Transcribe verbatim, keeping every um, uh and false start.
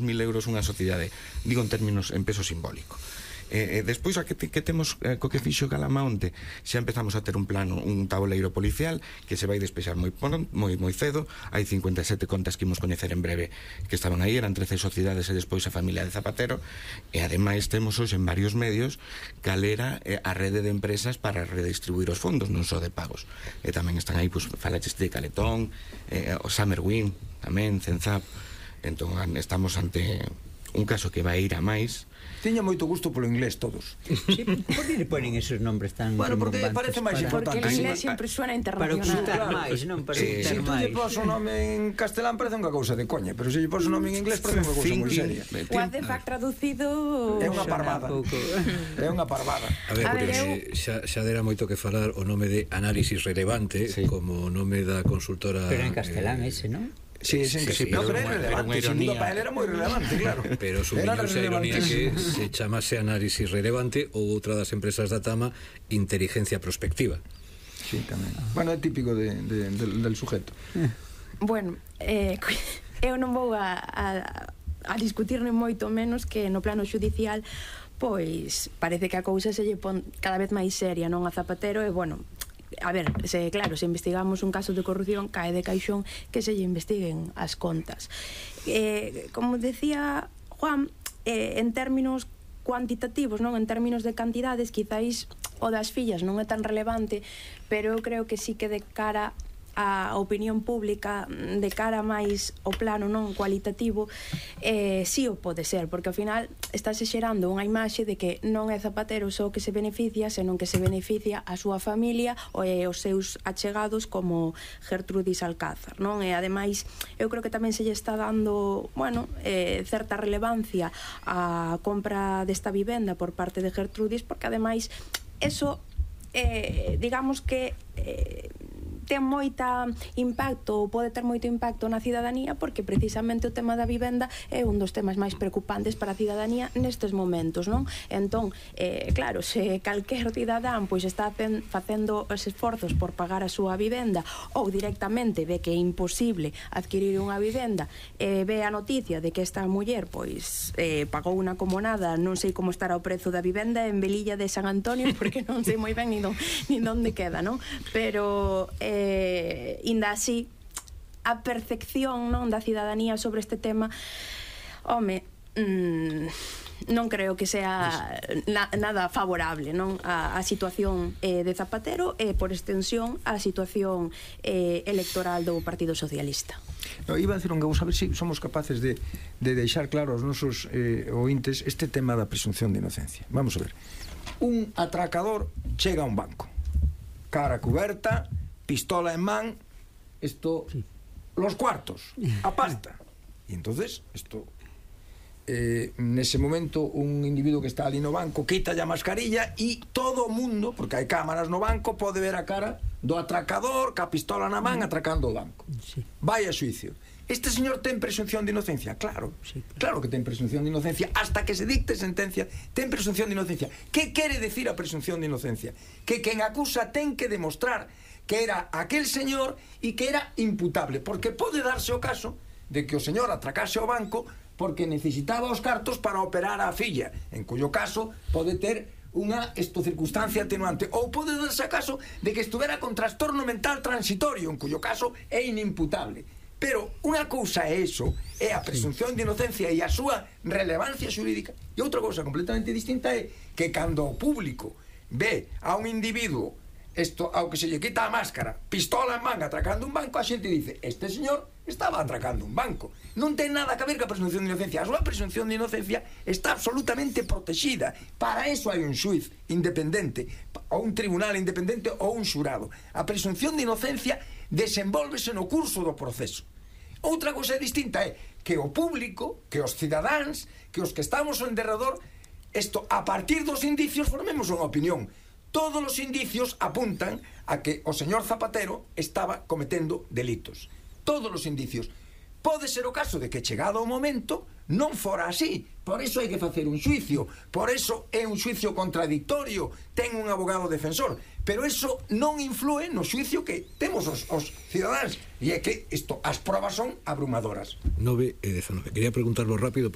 mil euros unha sociedade, digo en términos en peso simbólico. Eh, eh, despois a que, te, que temos eh, co que fixo Calamaonte, xa empezamos a ter un plano, un tabuleiro policial que se vai despexar moi, moi, moi cedo. Hai cincuenta e sete contas que imos coñecer en breve que estaban aí, eran trece sociedades e despois a familia de Zapatero, e ademais temos hoxe en varios medios cal era eh, a rede de empresas para redistribuir os fondos, non só de pagos, e tamén están aí, pues, falaches de Caletón, eh, o Summerwin tamén, Cenzap. Entón estamos ante un caso que vai ir a máis. Tiña moito gusto polo inglés todos. Sí, por que le ponen esos nombres tan bueno, porque parece máis importante. Porque el inglés sempre suena internacional. Para ocultar máis, non? Para ocultar máis. Se tú lle pos o nome en castelán parece unha cousa de coña, pero se lle pos o nome en inglés parece unha cousa moi seria. O artefact traducido é unha parvada. É unha parvada. A ver, porque xa, xa dera moito que falar o nome de Análisis Relevante, sí, como nome da consultora. Pero en castelán eh, ese, non? Sí, sí, sí, sí, pero era relevante, sin duda para él era moi relevante, claro. Pero sumiñouse a ironía que se chamase Análisis Relevante ou outra das empresas da Tama, Inteligencia Prospectiva. Sí, tamén. Bueno, é típico de, de, del, del sujeto. Bueno, eh, eu non vou a, a, a discutir nem moito menos que no plano xudicial pois parece que a cousa se lle pon cada vez máis seria, non, a Zapatero, e bueno, a ver, se, claro, se investigamos un caso de corrupción, cae de caixón que se lle investiguen as contas. Eh, como decía Juan, eh, en términos cuantitativos, non, en términos de cantidades, quizáis o das fillas non é tan relevante, pero eu creo que sí que de cara a opinión pública, de cara máis ao plano non cualitativo, eh, sí o pode ser, porque ao final estáse xerando unha imaxe de que non é Zapatero só que se beneficia, senón que se beneficia a súa familia e os seus achegados como Gertrudis Alcázar, non? E ademais eu creo que tamén se lle está dando, bueno, eh, certa relevancia á compra desta vivenda por parte de Gertrudis, porque ademais eso, eh, digamos que eh, ten moita impacto ou pode ter moito impacto na cidadanía, porque precisamente o tema da vivenda é un dos temas máis preocupantes para a cidadanía nestes momentos, non? Entón, eh, claro, se calquer cidadán pois está facendo os esforzos por pagar a súa vivenda ou directamente ve que é imposible adquirir unha vivenda, e eh, ve a noticia de que esta muller pois eh, pagou unha comunada, non sei como estará o prezo da vivenda en Velilla de San Antonio, porque non sei moi ben nin, don, nin donde queda, non? Pero eh, Eh, inda así a percepción, non, da cidadanía sobre este tema, home, mmm, non creo que sea na, nada favorable, non, a, a situación eh, de Zapatero e por extensión a situación eh, electoral do Partido Socialista. No, iba a decir un que vamos a ver se si somos capaces de, de deixar claro aos nosos eh, ointes este tema da presunción de inocencia. Vamos a ver, un atracador chega a un banco, cara cuberta, pistola en man, esto, sí, los cuartos, a pasta. Y entonces, esto, eh, nese momento, un individuo que está ali no banco quita a mascarilla e todo o mundo, porque hai cámaras no banco, pode ver a cara do atracador ca pistola na man atracando o banco. Sí. Vai a xuicio. Este señor ten presunción de inocencia? Claro, sí, claro que ten presunción de inocencia. Hasta que se dicte sentencia, ten presunción de inocencia. Que quere decir a presunción de inocencia? Que quen acusa ten que demostrar que era aquel señor e que era imputable, porque pode darse o caso de que o señor atracase o banco porque necesitaba os cartos para operar a filla, en cuyo caso pode ter unha esto circunstancia atenuante, ou pode darse o caso de que estuvera con trastorno mental transitorio, en cuyo caso é inimputable. Pero unha cousa é eso, é a presunción de inocencia e a súa relevancia xurídica, e outra cousa completamente distinta é que cando o público ve a un individuo esto, ao que se lle quita a máscara, pistola en manga atracando un banco, a xente dice, este señor estaba atracando un banco. Non ten nada que ver ca presunción de inocencia. A súa presunción de inocencia está absolutamente protegida. Para eso hai un xuiz independente, ou un tribunal independente, ou un xurado. A presunción de inocencia desenvólvese no curso do proceso. Outra cousa distinta é que o público, que os cidadáns, que os que estamos en derredor, isto, a partir dos indicios, formemos unha opinión. Todos os indicios apuntan a que o señor Zapatero estaba cometendo delitos. Todos os indicios. Pode ser o caso de que chegado o momento non fora así. Por iso hai que facer un xuicio. Por iso é un xuicio contradictorio. Ten un abogado defensor. Pero iso non influe no xuicio que temos os, os cidadáns. E é que isto, as probas son abrumadoras. nove e dezanove. Quería preguntarlo rápido.